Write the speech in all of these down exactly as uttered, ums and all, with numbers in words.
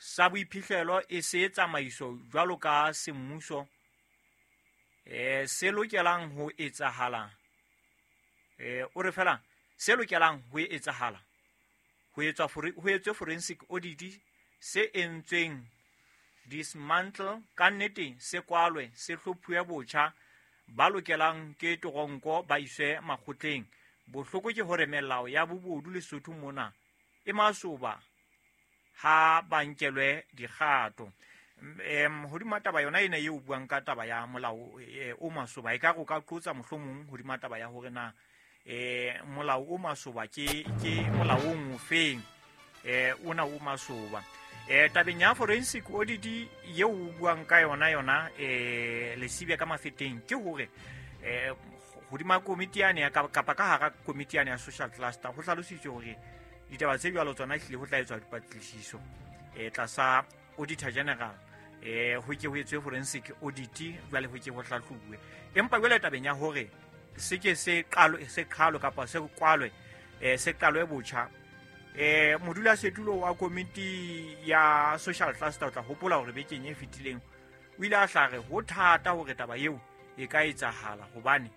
Sa boiphihlelo e se tsamaiso jwalo ka semmuso eh se lokelang ho etsahala eh o re fela se lokelang ho etsahala ho etswa ho etswe forensic audit se entsweng dismantle ka nnete se kwalwe se hlophuwe botjha ba lokelang ke toronko ba iswe makgotleng. Bohloko ke hore melao ya bobodu Lesotho mona e masoba ha ba nkelwe dikgato. Em hodima taba yona ena eo buang ka taba ya molao o masoba e ka go ka qotsa mohlomong hodima taba ya hore na eh molao o masoba ke ke molao o feng eh ona o masoba. Eh tabeng ya forensic audit eo o buang ka yona yona eh Lesibya ka Mafeteng ke hore eh hodima komiti yane ya kapa ka hara komiti yane ya social cluster ho hlalositswe hore ditaba tse jwalo tsona ehlile ho tla etswa dipatlisiso eh tlasa auditor general eh ho ke ho etswe forensic audit jwale ho ke ho hlahlobuwe. Empa jwale tabeng ya hore se ke se qalo se qhalo kapa se kwalwe eh se qalwe botjha eh modulasetulo wa komiti ya social cluster o tla hopola hore bekeng e fetileng o ile a hlare ho thata hore taba eo e ka etsahala hobane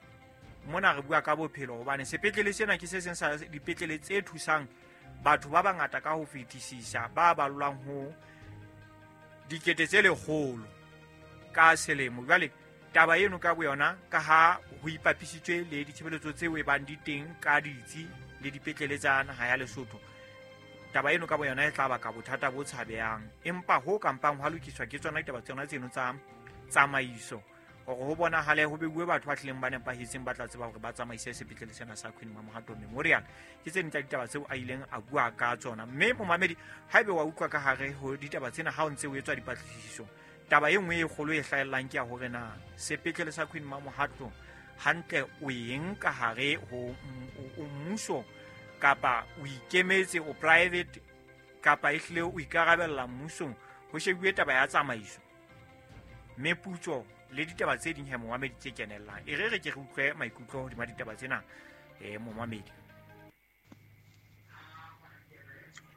mona re bua ka bophelo hobane sepetlele sena ke se seng sa dipetlele tse thusang batho ba bangata ka ho fetisisa ba ballwang ho dikete tse lekgolo ka selemo. Jwale taba eno ka boyona ka ha ho ipapisitswe le ditshebeletso tseo e bang di teng ka ditsi le dipetlele tsa naha ya Lesotho, taba eno ka boyona e tla baka bothata bo tshabehang. Empa ho kampang hwa lokiswa ke tsona ditaba tsona tseno tsa tsamaiso hore ho bonahale ho beuwe batho ba tlileng ba nepahetseng ba tla tseba hore ba tsamaise sepetlele sena sa Queen Mamohato Memorial. Ke tse ding tsa ditaba tseo a ileng a bua ka tsona. Mme momamedi haebe wa utlwa ka hare ho ditaba tsena ha o ntse o etswa dipatlisiso, taba e nngwe e kgolo e hlahellang ke ya hore na sepetlele sa Queen Mamohato hantle o eng ka hare ho mmuso kapa o ikemetse o private kapa ehlile o ikarabella mmusong. Ho shebuwe taba ya tsamaiso, meputso le ditaba tse ding he momamedi tse kenellang. E re re ke re utlwe maikutlo hodima ditaba tsena eh momamedi.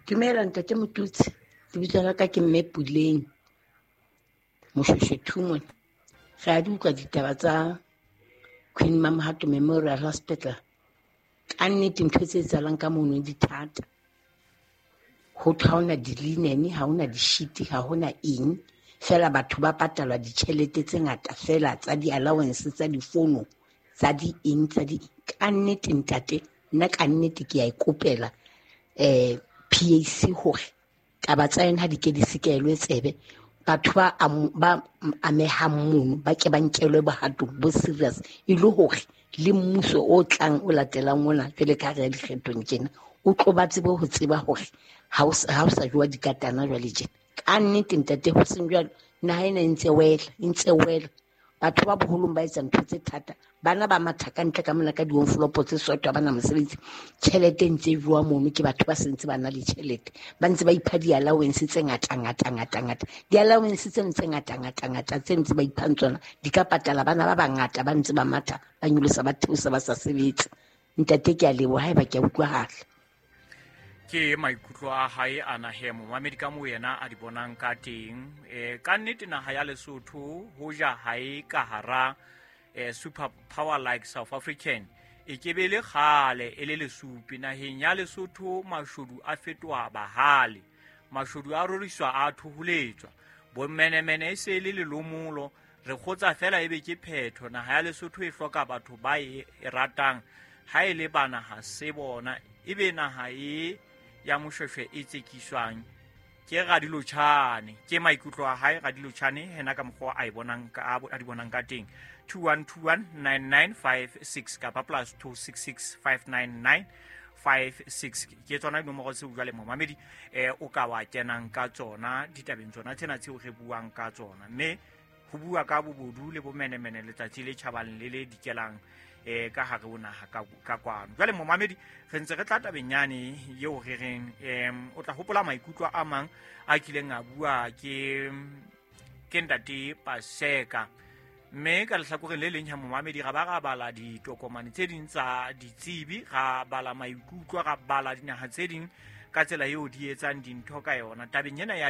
Dumela ntate Motutsi, lebitso la ka ke Mme Puleng Moshweshwe mona. Re a di utlwa ditaba tsa Queen Mamohato Memorial Hospital. Ka nnete ntho tse etsahalang ka mono di thata. Ho thwe ha hona di-linen, ha hona di-sheet, ha hona eng. Fela batho ba patalwa ditjhelete tse ngata fela tsa di-allowance, tsa difono, tsa di-eng, tsa di. Ka nnete ntate, nna ka nnete ke a ikopela eh P A C hore taba tsa yona ha di ke di sekelwe tsebe. Batho ba ba amehang mono ba ke ba nkelwe bohato bo serious e le hore le mmuso o tlang o latelang ona jwale ka re ya dikgethong tjena o tlo ba tsebe ho tseba hore ha o ha o sa jowa dikatana jwale tjena. Ka nnete ntate ho seng jwalo naha ena e ntse wela, e ntse wela. Batho ba boholong ba etsa ntho tse thata. Bana ba matha ka ntle ka mona ka di-envelope tse soto ha bana mosebetsi. Tjhelete e ntse e jowa mono ke batho ba sentse ba na le tjhelete. Ba ntse ba ipha di-allowance tse ngata, ngata, ngata, ngata. Di-allowance tseno tse ngata, ngata, ngata tse ntse ba iphang tsona di ka patala bana ba bangata ba ntse ba matha, ba nyolosa, ba theosa, ba sa sebetse. Ntate ke a leboha haeba ke a utlwahala. Ke maikutlo a hae a nahe momamedi ka moo yena a di bonang ka teng. Eh ka nnete naha ya Lesotho hoja ha e ka hara eh super power like South African e ke be le kgale e le lesupi. Naheng ya Lesotho mashodu a fetoha bahale, mashodu a roriswa a thoholetswa, bomenemene e se le lelomolo. Re kgotsa fela ebe ke phetho. Naha ya Lesotho e hloka batho ba e ratang, ha e le bana ha se bona, ebe naha e ya Moshweshwe e tsekiswang ke Radilotjhane. Ke maikutlo a hae Radilotjhane hena ka mokgwa a e bonang ka a di bonang ka teng. two one two one nine nine five six kapa plus two six six five nine nine five six ke tsona dinomoro tseo jwale momamedi eh o ka wa kenang ka tsona ditabeng tsona tsena tseo re buang ka tsona. Mme ho bua ka bobodu le bomenemene letsatsi le tjhabang le le dikelang eh ka hare ho naha ka ka kwano. Jwale momamedi re ntse re tla tabeng yane eo re reng em o tla hopola maikutlo a mang a kileng a bua ke ke ntate Paseka. Mme ka lehlakoreng le leng ha momamedi ra ba ra bala ditokomane tse ding tsa ditsebi, ra bala maikutlo, ra bala dinaha tse ding ka tsela eo di etsang dintho ka yona tabeng ena ya